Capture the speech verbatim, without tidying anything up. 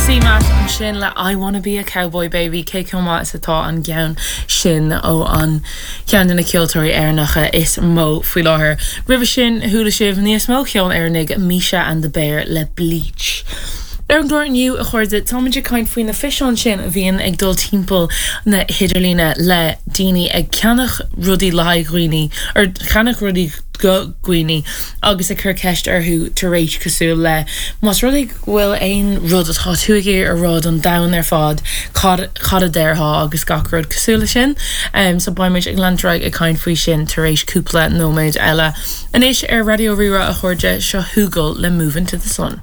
CMAT ansin le I wanna be a cowboy baby cé chomh maith is atá an ceann sin ó an ceann de na ceoltóirí Éireannacha is mó faoi láthair. Roimhe sin chuala sibh níos mó ceol Éireannaigh Misha and the Bear le Bleach. Ar an gclár inniu a chairde táimid ag caint faoi na físeáin sin a bhíonn ag dul timpeall na hidirlíne le daoine ag ceannach rudaí le haghaidh dhaoine ar cheannach rudaí go dhaoine agus ag cur ceist orthu tar éis cosúil le más rud é go bhfuil aon rud atá tú ag iarraidh a rá don domhan ar fad cad cad a déarfá agus gach rud cosúil le sin. Um, so beimid ag leanúint ag caint faoi sin tar éis cúpla nóiméad eile. Anois ar Raidió Rí-Rá a chairde seo Hugel le Moving to the Sun.